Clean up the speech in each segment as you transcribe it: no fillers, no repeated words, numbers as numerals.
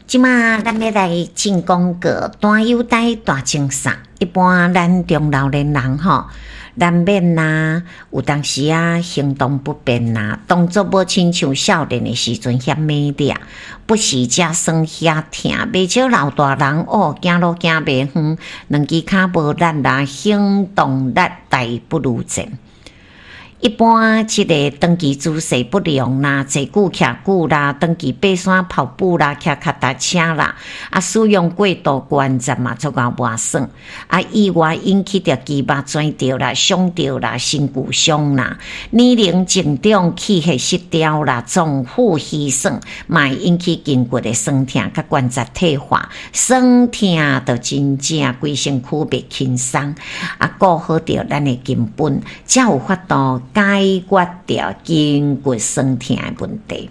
這馬咱欲來進廣告，大有代大精送。一般咱中老年人吼，難免啊，有當時啊行動不便啊，動作無親像少年的時陣遐猛掠，不時遮酸遐疼。袂少老大人哦，行路行袂遠，兩支跤無力啦，行動力大不如前。一般這个長期姿勢不良啦，坐久徛久啦，長期爬山跑步啦，騎腳踏車啦，啊，使用過度關節嘛，足𠢕磨損，啊，意外引起著肌肉轉著啦、傷著啦、身軀傷啦，年齡漸長、氣血失調啦、臟腑虛損，嘛會引起筋骨的痠疼佮關節退化，痠疼就真正規身軀袂輕鬆，啊，顧好著咱的根本，才有法度解決著筋骨痠疼的問題。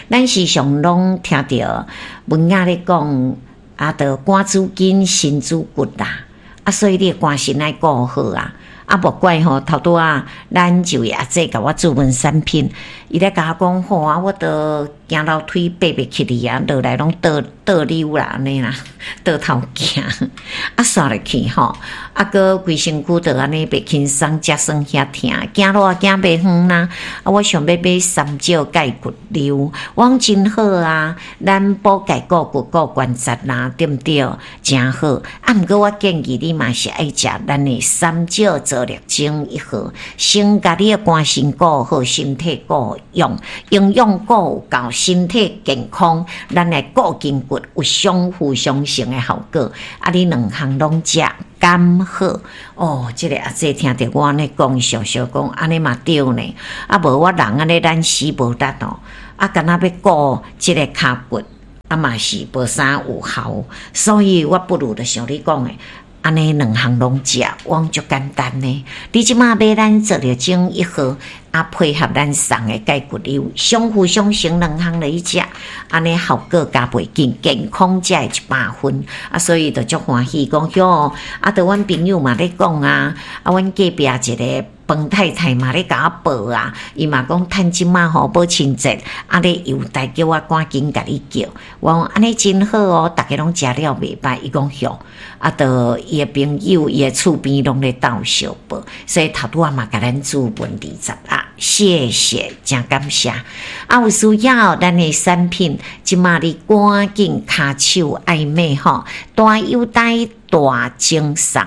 咱時常攏聽著文雅咧講，啊，著肝主筋，心主骨啦，啊，所以你的肝腎愛顧好啊。啊，無怪吼，頭拄仔咱這位阿姐共我諮詢產品，伊咧共我講吼啊，我都行樓梯爬袂起去啊，落來攏倒倒溜啦，按呢啦，倒頭行，啊，煞落去吼，啊，閣規身軀都按呢袂輕鬆，遮酸遐疼，行路也行袂遠啦。啊，我想欲買三招鈣骨溜，我講真好啊，咱補鈣顧骨顧關節啦，對毋對？誠好。啊，毋過我建議你嘛是愛食咱的三招做力精一號，先共你的肝腎顧好，身體顧勇，營養顧有夠，身體健康，咱來顧筋骨有相輔相成的效果。啊，你兩項攏食，敢好？哦，這个阿姐聽著我按呢講，想想講按呢嘛對呢。啊，無我人按呢懶死無力哦，啊，敢若欲顧這个跤骨，啊嘛是無啥有效，所以我不如就像你講的。按呢兩項攏食，我講足簡單呢。你這馬買咱做著精一號，啊配合咱送的鈣骨溜，相輔相成，兩項來食，按呢效果加倍緊，健康才會100分。啊，所以就足歡喜，講喲，啊，著阮朋友嘛咧講啊，啊，阮隔壁一个彭太太嘛咧共我報啊，伊嘛講趁這馬吼母親節，啊咧優待叫我趕緊共你叫。我講按呢真好哦，逐家攏食了袂䆀，伊講喲，啊，著伊的朋友、伊的厝邊攏咧鬥相報，所以頭拄仔嘛共咱諮詢20啊，謝謝，誠感謝。啊，有需要咱的產品，這馬你趕緊跤手愛買吼，大優待大贈送。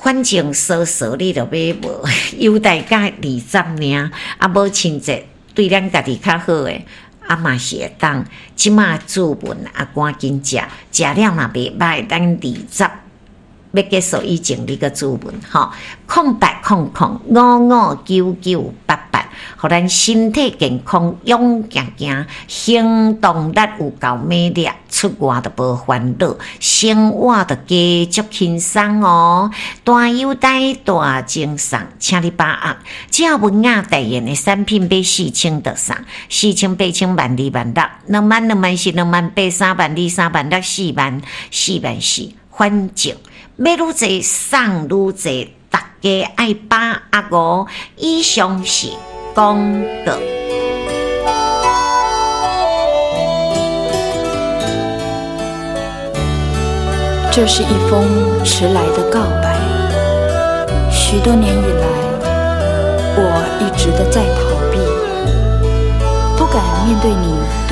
反正說說你著買無，優待價20爾，啊，母親節對咱家己較好的，啊嘛是會當。這馬諮詢啊，趕緊食，食了若袂䆀，咱20欲結束以前，你閣諮詢吼，0800559988，予咱身體健康，勇行行，行動力有夠猛烈，出外就無煩惱，生活就加足輕鬆哦。大優待大贈送，請你把握。只要文雅代言的產品買4000就送，40008000萬2萬6，2萬2萬4兩萬八三萬二三萬六四萬四萬四，反正買愈濟送愈濟，大家愛把握哦。以上是廣告。這是一封遲來的告白。許多年以來，我一直的在逃避，不敢面對你。